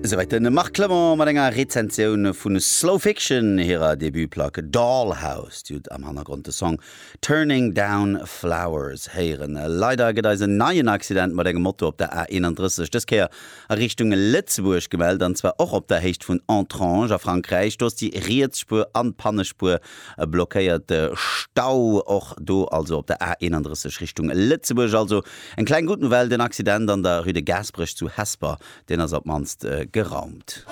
Esouwäit de Marc Clement mat enger Rezensioun vu Slow Fiction hirer Debutplack Dollhouse. Dir hutt am Hannergrond de Song Turning Down Flowers héieren. Leider gëtt eis en neien Accident mat engem Moto op der A31, dës Kéier a Richtung Lëtzebuerg gemellt, an zwar och op der Héicht vun Entrange a Frankräich. Do ass déi riets Spuer an d'Pannespuer blockéiert. Stau och do also op der A31 Richtung Lëtzebuerg. Also eng kleng gutt Nouvelle, den Accident an der Rue de Gaasperech zu Hesper Deen ass op mannst geraumt.